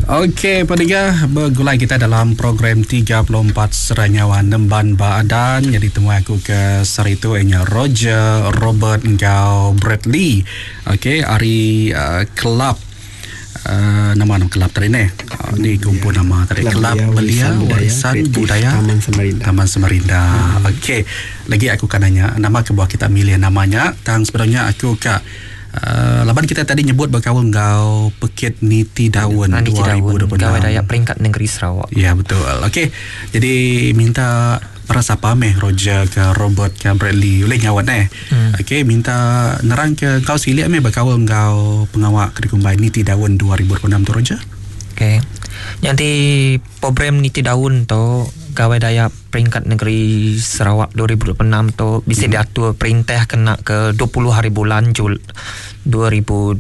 Okey pediga begulai kita dalam program 34 Serai Nyawa Nemban Ba Adan nyadi temuai aku ke sehari tu inya Roger Robert enggau Bradley. Okey ari uh, kelab uh, nama nama kelab tadi neh. Uh, ni kumpul nama tadi Kelab Belia Warisan Budaya Taman Samarinda. Taman Samarinda. Hmm. Okey lagi aku kan nanya nama kebuah kita milih namanya tang sebenarnya aku ka Uh, laban kita tadi nyebut bekaul enggau Pekit Niti Daun Ah, Niti Daun 2026. Gawai Dayak Peringkat Negeri Sarawak. Ya betul. Okey. Jadi minta para sapa meh Roger ke Robert ke Bradley boleh nyawat eh. Hmm. Okey minta nerang ke kau silik meh bekaul enggau pengawa ke dikumbai Niti Daun 2026 tu Roger. Okey. Nyadi program Niti Daun tu Gawai Dayak Peringkat Negeri Sarawak 2026 tu bisi hmm. diatur perintah kena ke 20 hari bulan Jul 2026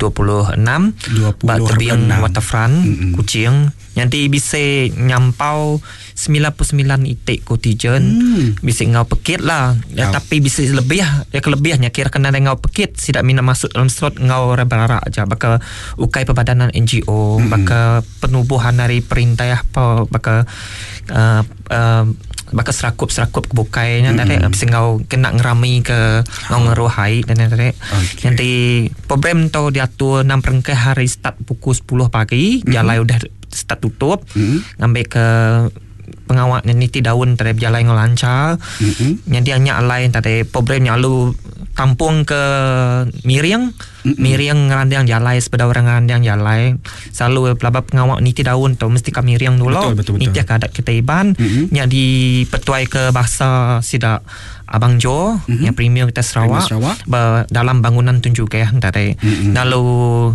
ba tebing Waterfront hmm. Kuching. Nyadi bisi nyampau 99 iti kontijen hmm. bisi enggau pekit lah. Ya, tapi bisi lebih ya kelebihnya kira kena enggau pekit sida mina masuk dalam slot enggau orang berarak aja baka ukai perbadanan NGO hmm. baka penubuhan ari perintah apa baka uh, uh, baka serakup-serakup ke bukai nya tadi mm-hmm. enggau kena ngerami ke enggau ngeruh ai dan tadi. Okay. Nanti program tu diatur enam perengkah hari start pukul 10 pagi, mm-hmm. jalai udah start tutup mm-hmm. ngambil ke pengawa niti daun tadi berjalai enggau lancar. Mm-hmm. Jadi nya alai tadi program nya lalu tampung ke miring mm-hmm. miring ngerandang jalai sepeda orang ngerandang jalai selalu pelaba pengawa niti daun tu mesti ka miring dulu betul, betul, betul. nitih ke adat kita Iban mm-hmm. nya dipetuai ke bahasa sida Abang Jo mm-hmm. yang premier kita Sarawak, Sarawak. Ba, dalam bangunan Tun Jugah tadi mm-hmm. lalu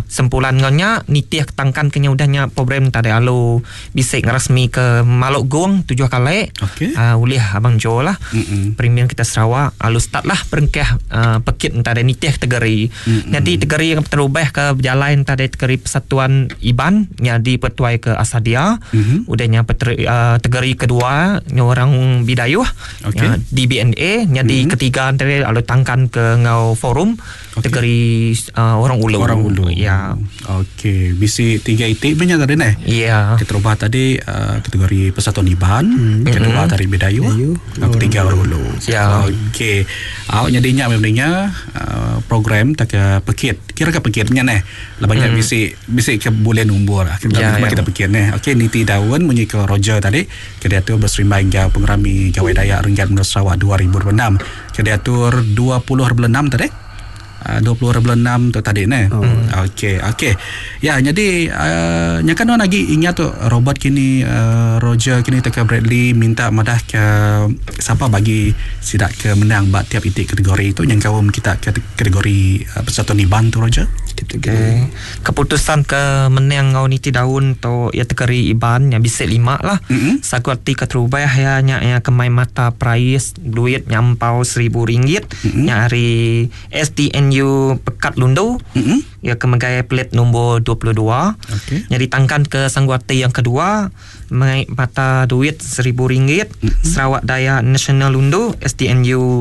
sempulan nya nitih tangkan kenya udah nya program tadi lalu bisi ngerasmi ke Maluk Gong tujuh kali okay. uh, ulih Abang Jo lah mm-hmm. premier kita Sarawak lalu start lah perengkah uh, pekit tadi nitih tegeri mm-hmm. Jadi tegeri yang terubah ke berjalan tadi tegeri Persatuan Iban nya dipetuai ke Asadia mm-hmm. udahnya peteri, uh, tegeri kedua nya orang Bidayuh okay. nya DBNA nya di mm-hmm. ketiga antara lalu tangkan ke ngau forum Okey. tegeri uh, orang Ulu. Orang Ulu. Ya. Okey, bisi tiga itik punya tadi neh. Ya. Keterubah tadi uh, kategori Persatuan Iban, hmm. kedua tadi Bidayuh, Bidayuh, ketiga Orang Ulu. Ya. Okey. Awak nyadinya memangnya uh, program tak ke pekit. Kira ke pekitnya neh. Lepas hmm. bisi bisi ke bulan nombor lah. Kita Ya, ya, ya. kita pekit neh. Okey, niti daun munyi ke Roger tadi. Ke diatur berserimbai enggau pengerami Gawai Dayak Renggat Menua Sarawak 2026. Ke diatur 20.6 tadi. Uh, 20.6 tu tadi ne. Oh. Okey, okey. Ya, jadi uh, nya kan orang lagi ingat tu Robert kini uh, Roger kini teka Bradley minta madah ke siapa bagi sidak ke menang bak tiap itik kategori itu yang kaum kita kategori uh, Persatuan Iban tu Roger. Kategori. Okay. Keputusan ke menang ngau niti daun tu ya tegeri Iban yang bisa lima lah. Mm-mm. Saku arti ke terubah ya nya ya kemai mata prais duit nyampau RM1,000 Mm-mm. nya hari STNU Pekat Lundu Mm-mm. ya kemegai pelit nombor 22. Okey. Jadi tangkan ke Sangguati yang kedua mengaik mata duit RM1,000 Mm-mm. Sarawak Daya National Lundu STNU